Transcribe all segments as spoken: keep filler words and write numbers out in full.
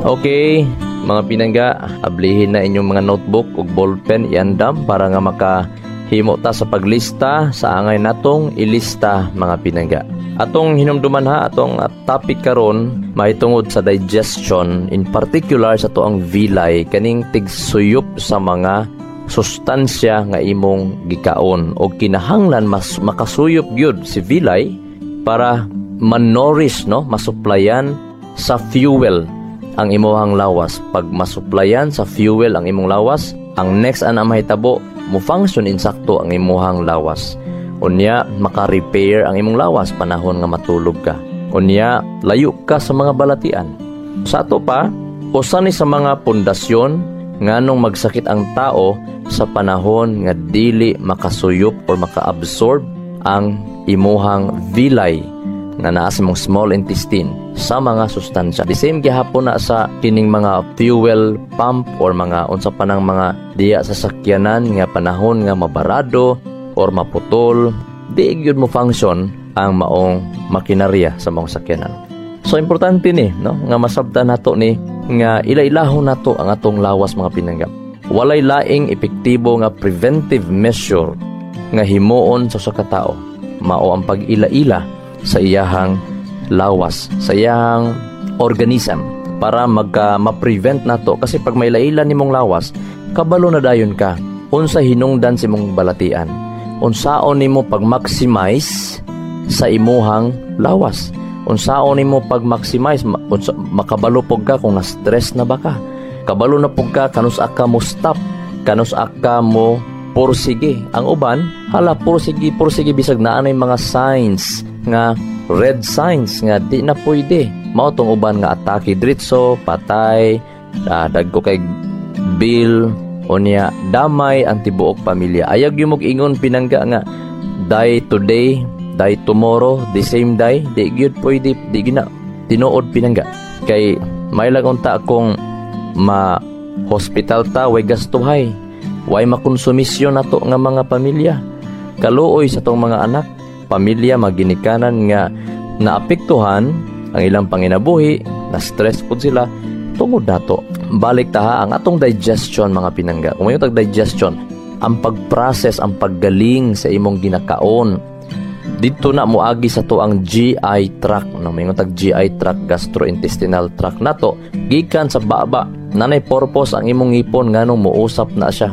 Okay, mga pinangga, ablihin na inyong mga notebook ug ballpen iandam para nga makahimo ta sa paglista sa angay natong ilista mga pinangga. Atong hinumduman ha, atong uh, topic karon mahitungod sa digestion, in particular sa atoang villi kaning tigsuyop sa mga sustansya nga imong gikaon o kinahanglan mas makasuyop gyud si villi para ma-nourish no masuplayan sa fuel ang imuhang lawas pag masuplayan sa fuel ang imong lawas ang next ana mahitabo mo function insakto ang imuhang lawas unya maka-repair ang imong lawas panahon nga matulog ka unya layo ka sa mga balatian sa ato pa usa ni sa mga pundasyon nganong magsakit ang tao sa panahon nga dili makasuyop or maka-absorb ang imuhang villi nga naa sa imong small intestine sa mga sustansya. The same gihapon na sa kining mga fuel pump or mga unsa pa nang mga diya sa sakyanan nga panahon nga mabarado or maputol, di gyud mo function ang maong makinarya sa maong sakyanan. So importante ni no nga masabtan nato ni nga ila-ilahon nato ang atong lawas mga pinangga. Walay laing epektibo nga preventive measure nga himuon sa usa ka tawo. Mao ang pag-ila-ila sa iyahang lawas, sa iyahang organism para magka ma-prevent nato kasi pag may ila nimong lawas, kabalo na dayon ka unsa hinungdan sa imong balatian. Unsaon nimo pag-maximize sa imuhang lawas. Unsaon nimo pag-maximize ma- unsa, makabalo pud ka kung na-stress na ba ka. Kabalo na pud ka kanus-a ka mo stop, kanus-a ka mo pursige. Ang uban, hala pursige pursige bisag naa nay mga signs nga red signs nga di na pwede. Mao tong uban nga atake diretso, patay, ah, dagko kay bill, unya damay ang tibuok pamilya. Ayaw gyud mog ingon pinangga nga die today, die tomorrow, the same day, di gyud pwede, di gyud na tinuod pinangga. Kay may lang unta kung ma hospital ta way gastuhay way makonsumisyon nato nga mga pamilya kaluoy sa tong mga anak pamilya maginikanan nga naapektuhan ang ilang panginabuhi na stress pud sila tungod nato balik ta ha, ang atong digestion mga pinangga kung mayo tag digestion ang pag-process ang paggaling sa imong ginakaon dito na moagi sa to ang GI tract no may tag GI tract gastrointestinal tract nato gikan sa baba nanay purpose ang imong ngipon nganong mousap na siya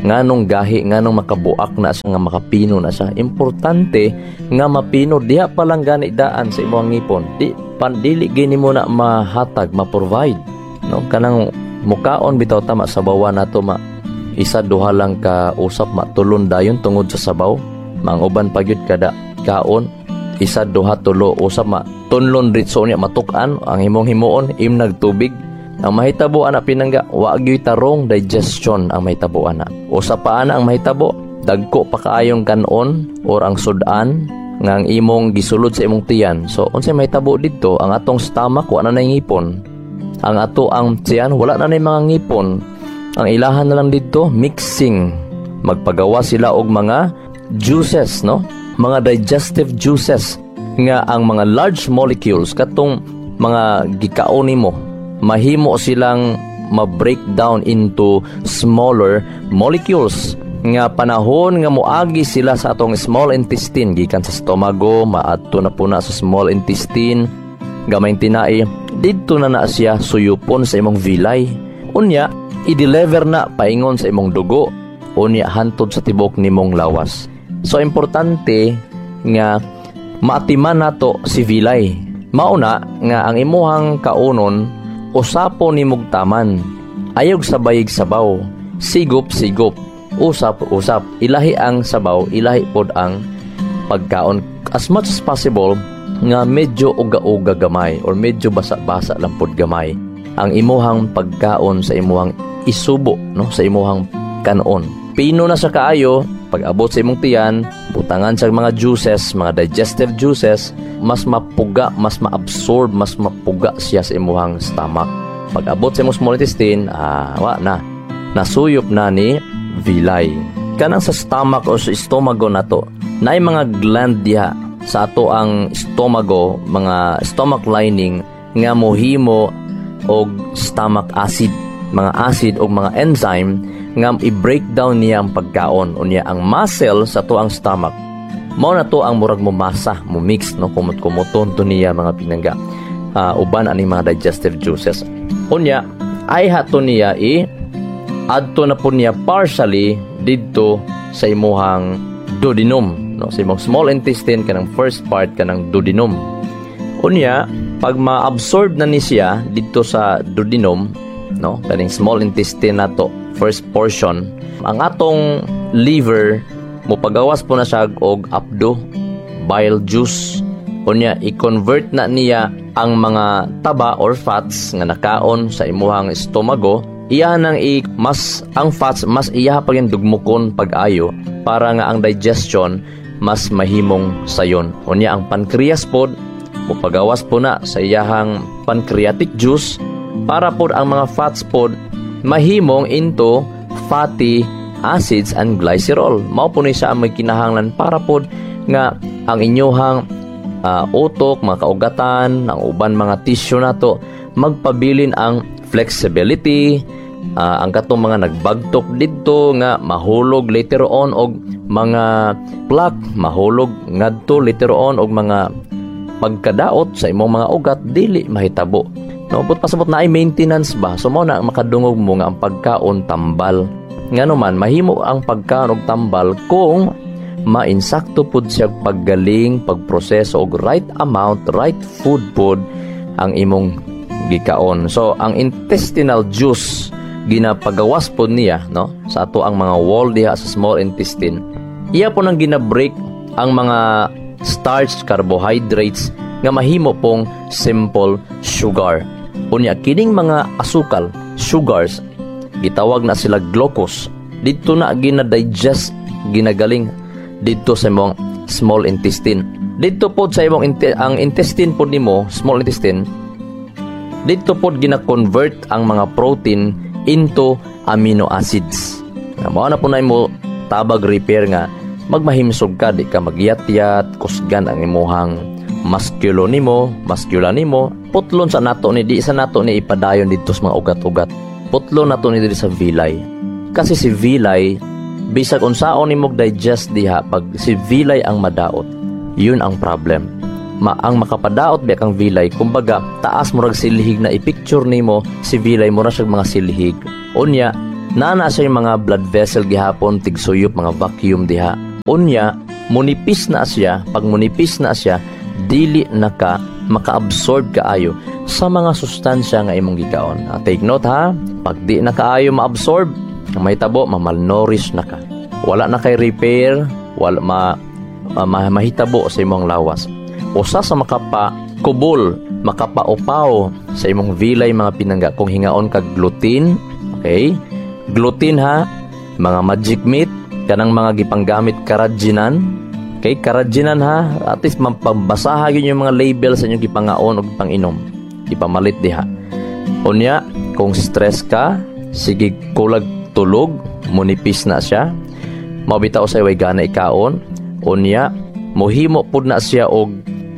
nganong gahi nganong makabuak na siya nga makapino na siya importante nga mapino diha pa lang gani daan sa imong ngipon di pan dili gini mo na mahatag ma-provide no kanang mukaon bitaw tama sa bawa nato ma isa duha lang ka usap matulon dayon tungod sa sabaw manguban pa gyud kada kaon isa duha tulo usap ma tunlon ritso niya matuk-an ang imong himuon imnag tubig ang mahitabo ana pinangga wa gyud tarong digestion ang mahitabo ana usa pa ana ang mahitabo dagko pa kaayong kanon or ang sudan nga ang imong gisulod sa imong tiyan so unsay mahitabo didto ang atong stomach wa na nay ngipon ang ato ang tiyan wala na nay mga ngipon ang ilahan na lang didto mixing magpagawa sila og mga juices no mga digestive juices nga ang mga large molecules katong mga gikaon nimo mahimo silang ma-break down into smaller molecules nga panahon nga moagi sila sa atong small intestine gikan sa stomago maadto na po na sa small intestine gamay tinai didto na na siya suyupon sa imong villi unya i-deliver na paingon sa imong dugo unya hantod sa tibok nimong lawas so importante nga maatiman nato si villi mauna nga ang imuhang kaunon usapon nimog taman ayog sabayig sabaw sigop sigop usap usap ilahi ang sabaw ilahi pod ang pagkaon as much as possible nga medyo uga-uga gamay or medyo basa-basa lang pod gamay ang imuhang pagkaon sa imuhang isubo no sa imuhang kanon pino na sa kaayo pag abot sa imong tiyan butangan sa mga juices mga digestive juices mas mapuga mas maabsorb mas mapuga siya sa imuhang stomach pag abot sa imong small intestine ah wa na nasuyop na ni villi kanang sa stomach o sa estomago nato naay mga gland diha sa ato ang estomago mga stomach lining nga mohimo og stomach acid, mga acid og mga enzyme nga i-breakdown niya ang pagkaon. Unya ang muscle sa atoang stomach mao na to ang murag mumasa, mo mix, no, kumot-kumuton to niya, mga pinangga, uh, uban ani mga digestive juices. Unya ay hato niya i adto na po niya partially didto sa imuhang duodenum, no, sa imong small intestine, kanang first part, kanang duodenum. Unya pag ma-absorb na ni siya didto sa duodenum, no, kaning small intestine nato, first portion, ang atong liver mopagawas po na siya og apdo, bile juice. Unya i-convert na niya ang mga taba or fats nga nakaon sa imuhang estomago. Iya nang i mas ang fats mas iya pa gyud dugmukon pag-ayo para nga ang digestion mas mahimong sayon. Unya ang pancreas pod mopagawas po na sa iyahang pancreatic juice para pod ang mga fats pod mahimong into fatty acids and glycerol. Mao po ni siya ang may kinahanglan para pod nga ang inyuhang uh, utok, mga kaugatan, ang uban mga tissue nato magpabilin ang flexibility, uh, ang katong mga nagbagtok didto nga mahulog later on og mga plaque, mahulog ngadto later on og mga pagkadaot sa imong mga ugat, dili mahitabo. No, but pasabot na ay maintenance ba? So mao na makadungog mo nga ang pagkaon tambal. Ngano man mahimo ang pagkaon og tambal kung mainsakto pud siya paggaling, pagproseso og right amount, right food pod ang imong gikaon. So ang intestinal juice ginapagawas pod niya, no, sa ato ang mga wall diha sa small intestine. Iya po nang gina-break ang mga starch, carbohydrates nga mahimo pong simple sugar. Unya kining mga asukal, sugars, gitawag na sila glucose. Didto na gina-digest, ginagaling didto sa imong small intestine. Didto pod sa imong inte- ang intestine pod nimo, small intestine, didto pod gina-convert ang mga protein into amino acids. Nga mao na po na imo tabag repair nga magmahimsog ka, di ka magyat-yat, kusgan ang imuhang musculo nimo, muscula nimo. Putlon sa nato ni, di sa nato ni ipadayon didto sa mga ugat-ugat. Putlon nato ni diri sa villi. Kasi si villi, bisag unsaon nimo digest diha, pag si villi ang madaot, yun ang problem. Ma ang makapadaot biya kang villi, kumbaga taas murag silhig na i-picture nimo si villi mura siya mga silhig. Unya, naa na siya yung mga blood vessel gihapon, tigsuyop, mga vacuum diha. Unya, munipis na siya, pag munipis na siya, dili na ka maka-absorb kaayo sa mga sustansya nga imong gikaon. Ah, take note ha, pag di na kaayo ma-absorb, ang mahitabo, ma-malnourish na ka. Wala na kay repair, wala ma, ma, ma mahitabo sa imong lawas. Usa sa makapa kubol, makapaupaw sa imong villi, mga pinangga, kung hingaon kag gluten, okay? Gluten ha, mga magic meat, kanang mga gipanggamit carrageenan, okay? Carrageenan ha, at least mapabasaha yun yung mga label sa inyong gipangaon o gipanginom. Ipamalit diha. Unya, kung stress ka, sige kulag tulog, munipis na siya. Mao bitaw sa way gana ikaon. Unya, mohimo pud na siya og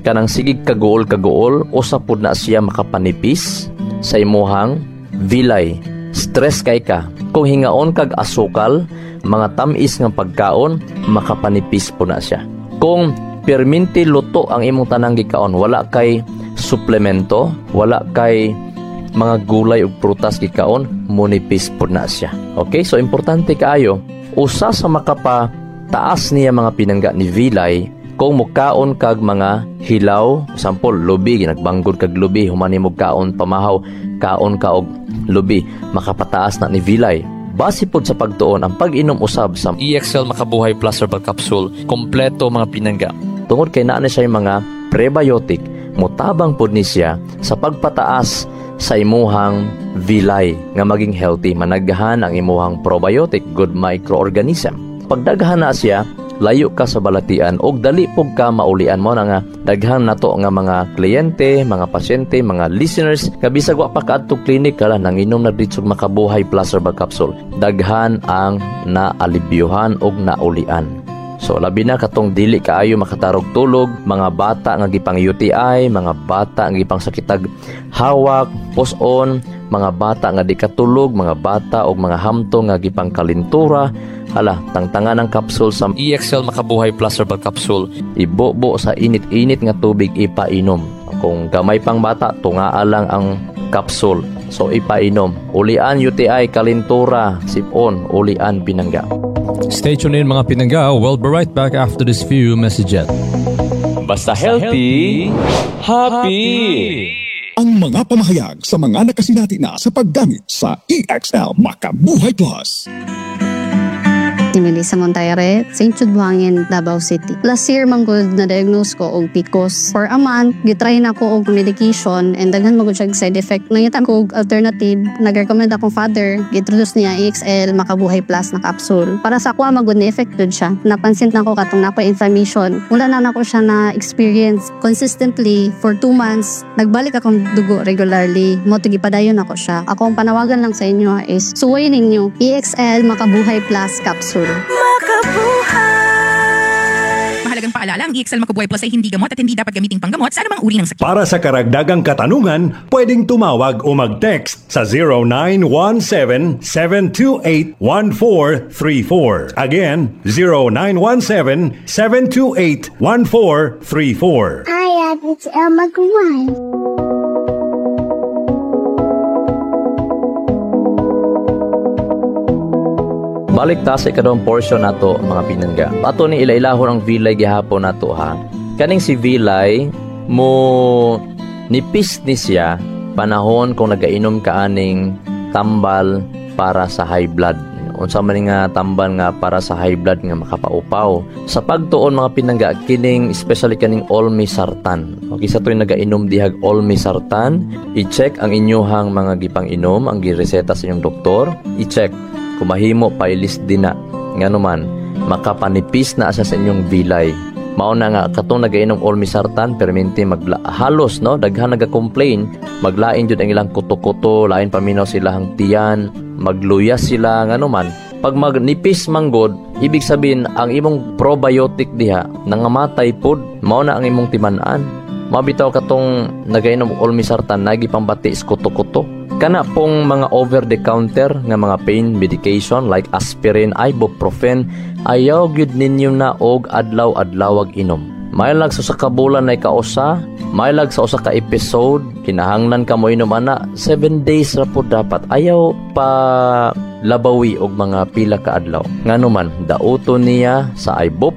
kanang sigig kaguol-kaguol, usa pud na siya makapanipis sa imuhang villi. Stress kay ka. Kung hingaon kag asukal, mga tamis nga pagkaon, makapanipis po na siya. Kung perminti luto ang imong tanang gikaon, wala kay suplemento, wala kay mga gulay ug prutas gikaon, munipis po na siya. Okay, so importante kaayo, usa sa makapa taas niya, mga pinangga, ni villi, kung mukaon kag mga hilaw, sample lubi, nagbanggod kag lubi, human nimo kaon pamahaw, kaon ka og lubi, makapataas na ni villi. Base pod sa pagtuon, ang pag-inom usab sa E X L Makabuhay Plus Herbal Capsule, kompleto, mga pinangga. Tungod kay naa na siya yung mga prebiotic, mutabang pod ni siya sa pagpataas sa imuhang villi nga maging healthy, managhan ang imuhang probiotic, good microorganism. Pagdaghan na siya, layo ka sa balatian og dali pug ka maulian mo na nga daghan nato nga mga kliyente, mga pasyente, mga listeners nga bisag wa pa kaadto clinic kala nanginom na dito Makabuhay Plus Herbal Capsule. Daghan ang naalibyuhan og naulian. So labi na katong dili kaayo makatarog tulog, mga bata nga gipang U T I, mga bata nga gipang sakitag hawak, pus-on, mga bata nga di katulog, mga bata og mga hamtong nga gipang kalintura, hala, tangtangan ang capsule sa E X L Makabuhay Plus Herbal Capsule. Ibobo sa init-init nga tubig, ipainom. Kung gamay pang bata, tungaa lang ang capsule. So ipainom. Ulian U T I, kalintura, sipon, ulian, pinangga. Stay tuned in, mga pinangga. We'll be right back after this few messages. Basta healthy, happy. Ang mga pamahayag sa mga nakasinati na sa paggamit sa E X L Makabuhay Plus. Si Melissa Montaire, Saint Jude Buhangin, Davao City. Last year man gud na-diagnose ko og P C O S. For a month, gitry na ko og medication and daghan man gud siya side effect. Nangita ko og alternative, nag-recommend akong father, gi-introduce niya E X L Makabuhay Plus na capsule. Para sa ako, magud na effect jud siya. Napansin na ko katong naa koy inflammation. Wala na nako siya na experience consistently for two months. Nagbalik akong dugo regularly. Mao to gipadayon ako siya. Ako ang panawagan lang sa inyo is suway ninyo E X L Makabuhay Plus capsule. Mahalagang paalala, ang E X L Makabuhay Plus ay hindi gamot at hindi dapat gamiting panggamot sa anumang uri ng sakit. Para sa karagdagang katanungan, pwedeng tumawag o mag-text sa zero nine one seven, seven two eight, one four three four. Again, zero nine one seven, seven two eight, one four three four. Hi, it's Elma Guan. Balik ta sa ikaduhang portion nato, mga pinangga. Ato ni ilailahon ang vilay gihapon nato ha. Kaning si vilay mo nipis ni siya panahon kung nagainom ka aning tambal para sa high blood. Unsa man ni nga tambal nga para sa high blood nga makapaupaw. Sa pagtuon, mga pinangga, kining especially kaning olmesartan. Okay, sa tuwing nagainom dihag olmesartan, i-check ang inyuhang mga gipang-inom, ang gireseta sa inyong doktor, i-check kung mahimo pailis din na, ngano man makapanipis na siya sa inyong vilay. Mao na nga katong nagainom olmesartan perminti magla halos no, daghan naga-complain, maglain jud ang ilang kuto-kuto, lain paminaw sila ang tiyan, magluya sila. Ngano man, pag magnipis manggod, ibig sabihin ang imong probiotic diha nangamatay pod. Mao na ang imong timan-an. Mabitaw katong nagainom og olmesartan nagi pambati sa kuto-kuto. Kana pong mga over the counter nga mga pain medication like aspirin, ibuprofen, ayaw gyud ninyo na og adlaw-adlawag inom. Maylag sa usa ka bulan ay kausa, maylag sa usa ka episode, kinahanglan ka mo inom ana, seven days ra po dapat. Ayaw pa labawi og mga pila ka adlaw. Ngano man, dauto niya sa ibuprofen.